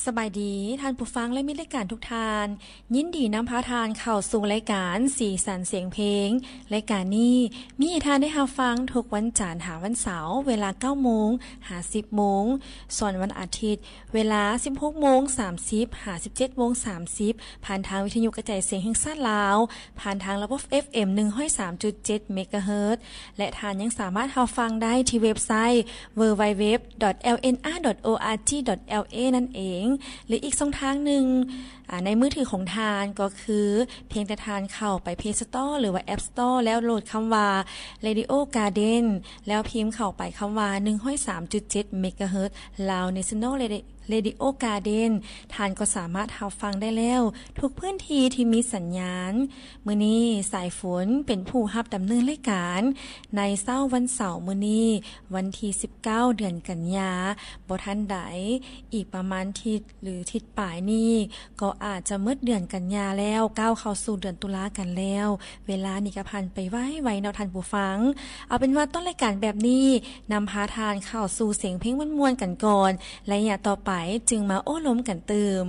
ສະບາຍດີທ່ານຜູ້ຟັງ ແລະ ມິດລາຍການທຸກທ່ານ. ຍິນດີນຳພາທ່ານເຂົ້າສູ່ລາຍການສີສັນສຽງເພງ. ລາຍການນີ້ມີໃຫ້ທ່ານໄດ້ຮັບຟັງທຸກວັນຈັນຫາວັນເສົາ ເວລາເກົ້າໂມງຫາສິບໂມງ, ສ່ວນວັນອາທິດ ເວລາສິບຫົກໂມງສາມສິບຫາສິບເຈັດໂມງສາມສິບ ຜ່ານທາງວິທະຍຸກະຈາຍສຽງແຫ່ງຊາດລາວ ຜ່ານທາງລະບົບ ເອັຟເອັມ ໜຶ່ງຮ້ອຍສາມຈຸດເຈັດ ເມກາເຮີດ ແລະ ທ່ານຍັງສາມາດຮັບຟັງໄດ້ທີ່ເວັບໄຊ ดัບເບິນຢູດັບເບິນຢູດັບເບິນຢູ ດອດ ແອລເອັນອາ ດອດ ໂອອາຈີ ດອດ ແອລເອ ນັ້ນເອງ ຫຼື ອີກຊ່ອງທາງໜຶ່ງ ອາ ໃນມືຖືຂອງທ່ານກໍຄື ພຽງແຕ່ທ່ານເຂົ້າໄປ Play Store ຫຼືວ່າ App Store ແລ້ວໂຫຼດຄຳວ່າ Radio Garden ແລ້ວພິມເຂົ້າໄປຄຳວ່າ ໜຶ່ງຮ້ອຍສາມຈຸດເຈັດ ເມກາເຮີດ Lao National Radio Garden ທ່ານກໍສາມາດຮັບຟັງໄດ້ແລ້ວ ທຸກພື້ນທີ່ທີ່ມີສັນຍານ. ມື້ນີ້ສາຍຝົນເປັນຜູ້ຮັບດຳເນີນລາຍການ ໃນເຊົ້າວັນເສົາມື້ນີ້ ວັນທີສິບເກົ້າ ເດືອນກັນຍາ ບໍ່ທັນໃດ ອີກປະມານທິດ ຫຼື ທິດປາຍນີ້ ກໍອາດຈະໝົດເດືອນກັນຍາແລ້ວ ກ້າວເຂົ້າສູ່ເດືອນຕຸລາກັນແລ້ວ. ເວລານີ້ກໍຜ່ານໄປໄວໆເນາະທ່ານຜູ້ຟັງ. ເອົາເປັນວ່າຕົ້ນລາຍການແບບນີ້ ນຳພາທ່ານເຂົ້າສູ່ສຽງເພງມ່ວນໆກັນກ່ອນ ໄລຍະຕໍ່ໄປຈຶ່ງມາໂອ້ລົມກັນຕື່ມ.